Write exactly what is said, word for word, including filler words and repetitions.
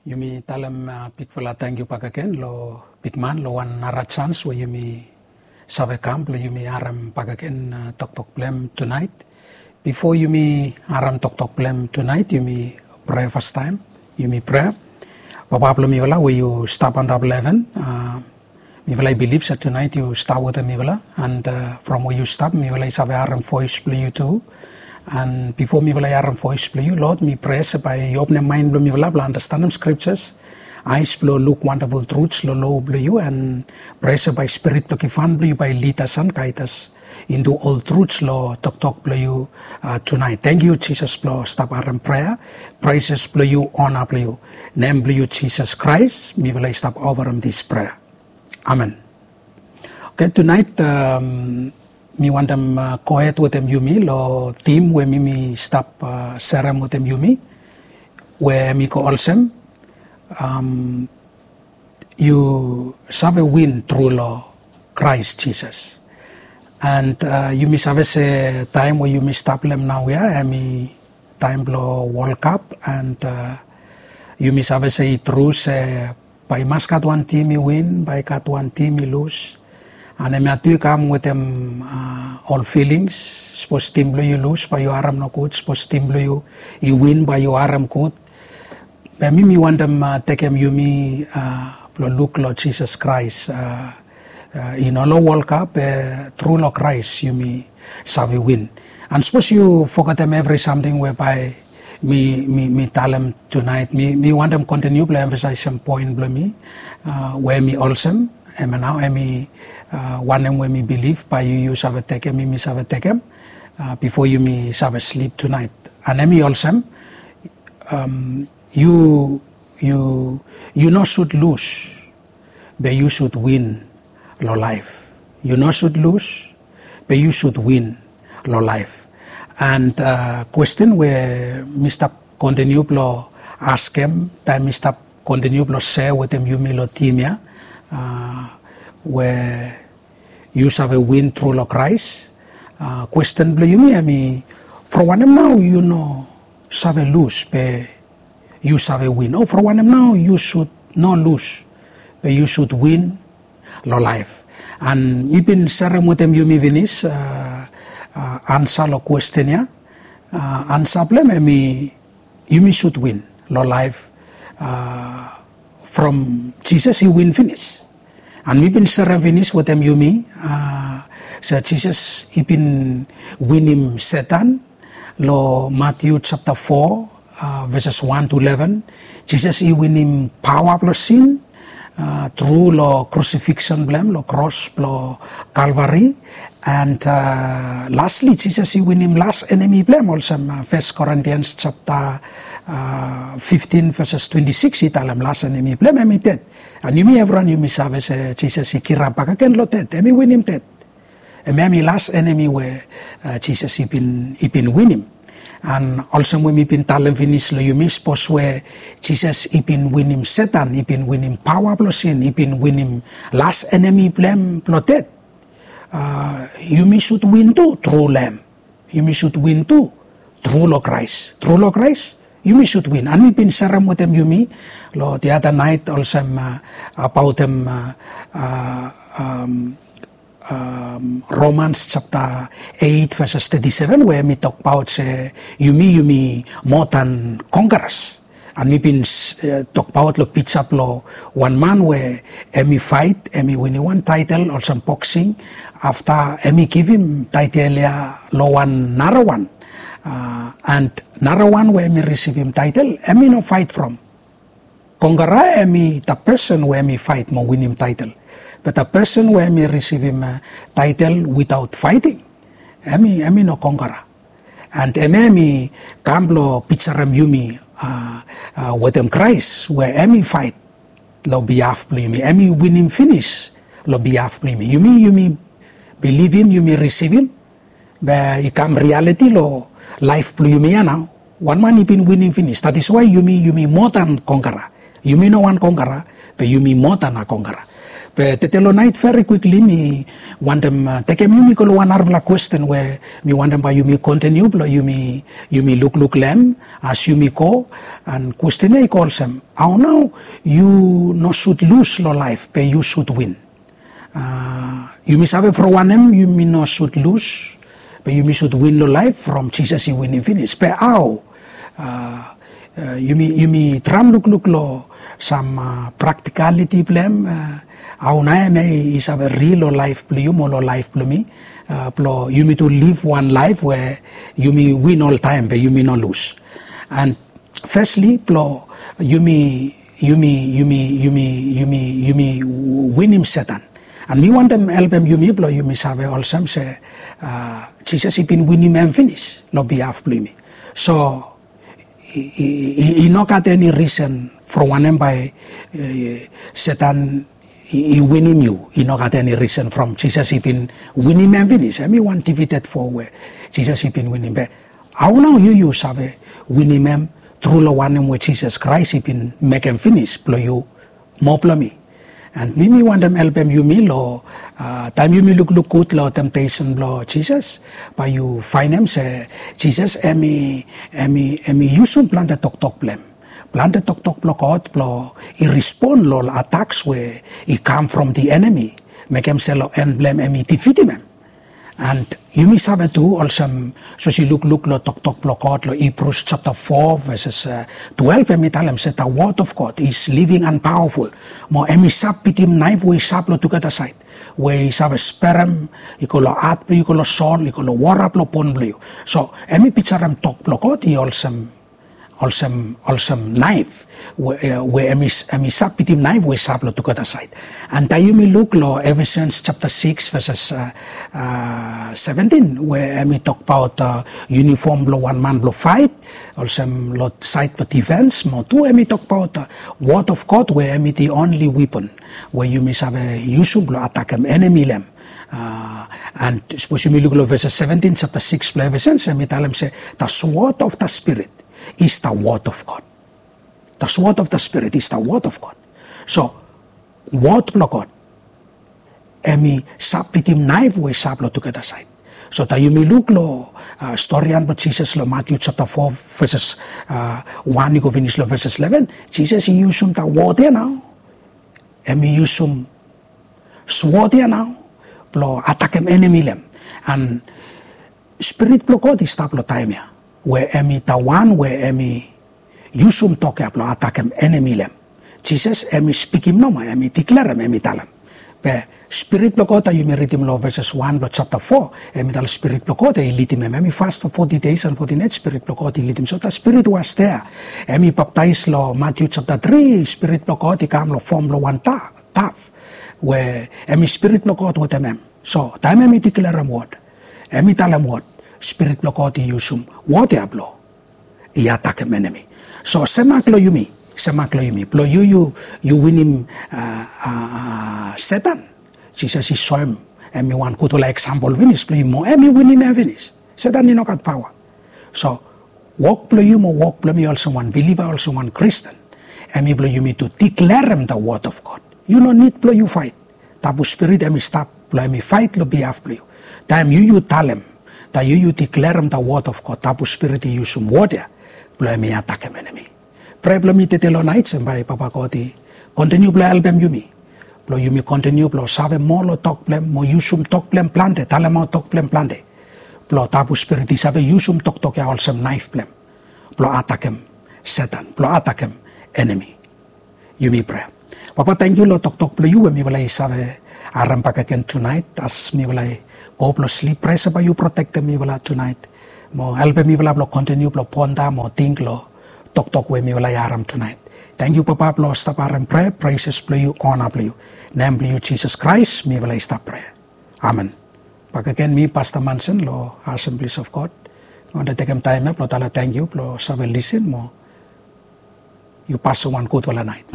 Yumi talem bikfala tangkiu bakegen long bikman long wan nara jans we yumi save kam blong yumi harem bakegen toktok blong hem tunaet. Bifo yumi harem toktok blong hem tunaet, yumi prea fastaem. Yumi prea. Papa blong mifala we yu stap antap long heven, mifala i bilif se tunaet yu stap wetem mifala, and from we yu stap mifala i save harem voes blong yu tu. And bifo mifala i harem voes blong yu, Lord, mi prea se bae yu openem maen blong mifala blong andastanem scriptures, aes blong luk wandaful truts long lo blong yu, and prea se bae spirit blong givhan blong yu bae lidas and gaedas intu ol truts long toktok blong yu tunaet. Tangkiu Jisas blong stap harem prea. Preses blong yu, ona blong yu. Nem blong yu Jisas Kraes mifala i stap ofarem dis prea. Amen. Oke, tunaet mi wantem gohed wetem yumi long tim we mi mi stap serem wetem yumi, we mi go olsem, yu save win tru long Kraes Jisas. And yumi save se taem we yumi stap long hem naoia hemi taem blong World Cup, and yumi save se i tru se bae i mas gat wan tim i win, bae i gat wan tim i lus. And hemia tu i kam wetem ol filings. Sapos tim blong yu i lus bae yu harem nogud, sapos tim blong yu i win bae yu harem gud. Be mi mi wantem tekem yumi blong luk long Jisas Kraes. I no long World Cup, be tru long Kraes yumi save win. And sapos yu fogetem evri samting we bae mi mi mi talem tunaet, mi mi wantem kontiniu blong emfasaesem poen blong mi, we hemi olsem, hemia nao hemi wanem we mi bilif bae yu yu save tekem, mi mi save tekem bifo yumi save slip tunaet. And hemi olsem, yu yu yu no sud lus, be yu sud win long laef. Yu no sud lus, be yu sud win long laef. And kwesten we mi stap kontiniu blong askem taem mi stap kontiniu blong sea wetem yumi long tim ya, we yu save win tru long Kraes. Kwesten blong yumi hemi, from wanem nao yu no save lus be yu save win? O from wanem nao yu sud no lus be yu sud win long laef? And mi bin serem wetem yumi finis ansa long kwesten ya. Ansa blong hem hemi, yumi sud win long laef from Jisas i win finis. And mi bin serem finis wetem yumi se Jisas i bin winim Setan. Long Matiu japta fo, veses wan tu leven, Jisas i winim paoa blong sin tru long krusifiksen blong hem long kros blong Kalvari. And lasli Jisas i winim las enemi blong hem, olsem Fes Korintians japta fiftin veses twenti sikis i talem, las enemi blong hem hemi ded. And yumi evriwan yumi save se Jisas i kirap bakegen long ded, hemi winim ded. Hemia hemi las enemi we Jisas i bin i bin winim. And olsem we mi bin talem finis long yumi, sapos we Jisas i bin winim Setan, i bin winim paoa blong sin, i bin winim las enemi blong hem blong ded, yumi sud win tu tru long hem. Yumi sud win tu tru long Kraes. Tru long Kraes yumi sud win. And mi bin serem wetem yumi long diada naet olsem abaotem Romans japta eit veses teti seven, we hemi tokbaot se yumi yumi moa dan kongkaras. And mi bin tokbaot long pija blong wan man we hemi faet, hemi winim wan taetel olsem boksing. Afta hemi givim taetel ya long wan narawan. And narawan we hemi risivim taetel, hemi no faet from. Kongkara hemi da pesen we hemi faet mo winim taetel. Be da pesen we hemi risivim taetel witaot faeting, hemi hemi no kongkara. And hemia hemi kam blong pijarem yumi wetem Kraes we hemi faet long bihaf blong yumi, hemi winim finis long bihaf blong yumi. Yumi yumi bilivim, yumi risivim, be i kam rialiti long laef blong yumi ya nao. Wan man i bin winim finis. That is why yumi yumi moa dan kongkara. Yumi no wan kongkara, be yumi moa dan a kongkara. Be tede long nait, veri kwikli mi wantem tekem yumi go long wan narafala kwesten we mi wantem bae yumi kontiniu blong yumi lukluk long hem as yumi go. And kwesten ya i go olsem, hao nao yu no sud lus long laef be yu sud win? Yumi save from wanem yumi no sud lus be yumi sud win long laef from Jisas i winim finis? Be hao? Yumi traem lukluk long sam praktikaliti blong hem. Hao nao hem i save ril long laef blong yu mo long laef blong mi, blong yumi tu liv wan laef we yumi win oltaem be yumi no lus? And fesli blong yumi yumi yumi yumi yumi yumi winim Setan. And mi wantem helpem yumi blong yumi save olsem se Jisas i bin winim hem finis long bihaf blong yumi. So i no gat eni risen from wanem bae Setan i winim yu. I no gat eni risen from Jisas i bin winim hem finis. Hem i wan divided fo we Jisas i bin winim. Be hao nao yu yu save winim hem tru long wanem we Jisas Kraes i bin mekem finis blong yu mo blong mi? And mi mi wantem helpem yumi long taem yumi lukluk gud long temtesen blong Jisas, bae yu faenem se Jisas hem i yusum plante toktok blong hem, plante toktok blong God blong i respon long ataks we i kam from the enemi, mekem se long en blong hem hem i difitim hem. And yumi save tu olsem, sapos yu lukluk long toktok blong God long Hibrus japta fo veses twelef, hem i talem se the word of God is living and powerful. Mo hem i sap bitim naef we i sap long tugeta saed, we i save sperem, i go long hat blong yu, i go long sol, i go long wara blong bon blong yu. So hem i pijorem tok blong God i olsem olsem olsem naef we hem i sap bitim naef we i sap long tugeta saed. And taem yumi luk long Efesians japta sikis veses seventin, we hem i tokbaot yunifom blong wan man blong faet, olsem long saed blong difens, mo tu hem i tokbaot word of God we hem i the only weapon we yumi save yusum blong atakem enemi long hem. And sapos yumi luk long veses seventin japta sikis blong Efesians, hem i talem se the sword of the Spirit is the word of God. The sword of the Spirit is the word of God. So word blong God hem i sap bitim naef we i sap long tugeta saed. So taem yumi luk long storian blong Jisas long Matiu japta fo veses wan i go finis long veses leven, Jisas i yusum the word ya nao. Hem i yusum swod ya nao blong atakem enemi long hem. And Spirit blong God i stap long taem ya we hem i the one we hem i yusum tok ya blong atakem enemi long hem. Jisas hem i spikim nomo, hem i diklerem, hem i talem. Be Spirit blong God, taem yumi ridim long veses wan blong japta fo, hem i talem Spirit blong God i lidim hem. Hem i fas long foti days and foti nights, Spirit blong God i lidim. So the Spirit was there. Hem i baptaes long Matiu japta tri, Spirit blong God i kam long fom blong wan dove we hem i Spirit blong God wetem hem. So taem hem i diklerem wod, hem i talem wod, Spirit blong God i yusum wod ya blong i atakem enemi. So semak long yumi, semak long yumi blong yu yu winim Setan. Jisas i soem hem i wan gudfala eksampol finis blong yumi mo hem i winim hem finis. Setan i no gat paoa. So wok blong yu mo wok blong mi olsem wan biliva, olsem wan Kristin, hem i blong yumi tu diklerem the word of God. Yu no nid blong yu faet. Tabu Spirit hem i stap blong hem i faet long bihaf blong yu. Taem yu yu talem, taem yu yu diklerem the word of God, Tabu Spirit i yusum wod ya blong hem i atakem enemi. Prea blong mi tede long naet se bae Papa God i kontiniu blong helpem yumi blong yumi kontiniu blong save moa long tok blong hem mo yusum tok blong hem plante, talemaot tok blong hem plante, blong Tabu Spirit i save yusum toktok ya olsem naef blong hem blong atakem Setan, blong atakem enemi. Yumi prea. Papa, tangkiu long toktok blong yu we mifala i save harem bakegen tunaet. As mifala i go blong slip, prea se bae yu protektem mifala tunaet mo helpem mifala blong kontiniu blong ponda mo ting long toktok we mifala i harem tunaet. Tangkiu Papa blong stap harem prea, preses blong yu, ona blong yu. Nem blong yu Jisas Kraes mifala i stap prea. Amen. Bakegen mi Pasta Manson long Assemblies of God. Mi wantem tekem taem ya blong talem tangkiu blong save lisin mo yu pasem wan gudfala naet.